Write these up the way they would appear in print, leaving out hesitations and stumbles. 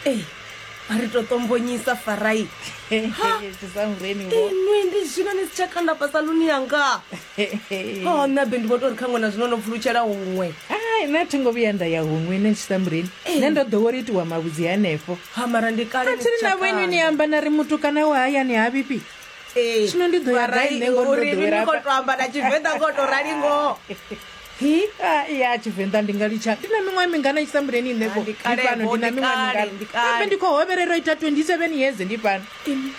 Ee, a ri to ṱombonyisa Farai. Tshisamureni vho. Inwi ndi zwino ni si tsha kanda fha saluni yanga. Oh, nṋe abe ndi vho tou ri kha ṅwana zwino no pfulutshela huṅwe. Ai, nṋe a thi ngo vhuya nda ya huṅwe nṋe Tshisamureni. Nṋe ndo ḓowela u itiwa mavhudzi hanefho. Ha mara ndi kale A ni thi si ri tsha na vhoinwi ni kanda. amba na ri mutukana wa hayani ha vhifhi. Ee, Zwino ndi ḓo ya gai Farai, nṋe ngori ndo uri inwi ḓowela ni khou hafha. tou amba na Tshivenḓa ngo tou rali ngoho. Hi? Ah, ya Tshivenḓa ndi nga litsha. Ndi na miṅwaha mingana Tshisamureni nṋe Ah, vho? ndi Ndi fhano kale-vho, ndi na ndi miṅwaha kale, mingana? ndi kale. Kambe ndi khou hovhelela u ita 27 years ndi fhano.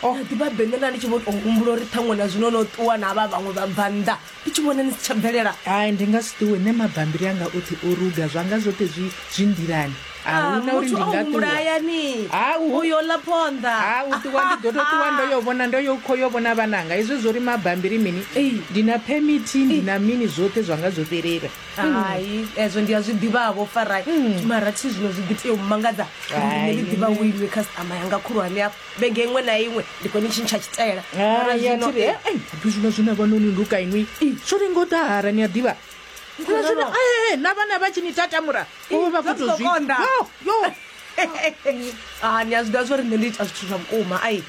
Oh. Ḓivha bende nda ndi tshi vho tou humbula uri ṱhaṅwe na zwino no ṱuwa na vha vhaṅwe vha bva nnḓa ndi tshi vhona ni si tsha bvelela. Hai, ndi nga si ṱuwe nṋe mabambiri anga oṱhe o ruga zwanga zwoṱhe zwi zwi nḓilani. A Ah, huna uri muthu ndi o nga humbula ṱuwa. hayani Ha, u- uyo ḽa phonḓa. Ha, u ṱuwa ndi ḓo tou ṱuwa ndo yo vhona ndo yo kho yo vhona vhananga hezwo zwo ri mabambiri mini Ee. ndi na phemithi ndi na mini zwoṱhe zwanga zwo fhelela. Hai, ezwo ndi a zwi ḓivhavho Farai. Mara thi zwino zwi ḓi tea u mmangadza uri nṋe ndi ḓivha wo iwe customer yanga khulwane afha. Vhege iṅwe na iṅwe ndi khou ni tshintsha tshitaela. Mara Hai, a zwino thi ri ai hapfi zwino zwine vha noni luka inwi zwo lenga u ḓahara ni a ḓivha. Zwino zwino ee na vhana vha tshi ni tatamura vho vha khou zwa tou zwi zwi khou konḓa. yo yo. Ah, ni a zwi ḓivha zwa uri nṋe ndi ita zwithu zwa vhukuma ai.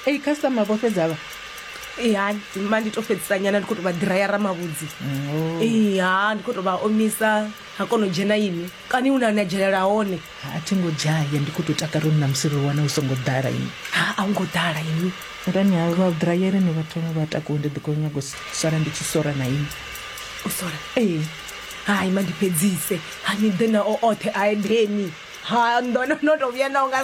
Ei customer vho fhedza vha. Ee, ma ndi to fhedzisa nyana ndi khou tou vha ḓirayara mavhudzi. Ee, ha ndi khou tou vha omisa ha kona u dzhena inwi. Kani hune na dzhelela hone? A thi ngo dzhaya ndi khou tou takala uri na musi ro wana u songo ḓala inwi. Ha a hu ngo ḓala inwi. Arani ha vha ḓirayere ni vha thome vha takuwe ndi ḓo khou nyaga u sala ndi tshi sora na inwi. U sola? Ee. Hai ma ndi fhedzise. Ha ni ḓe nao oṱhe a edeni. Ha ndo no tou vhuya nao nga.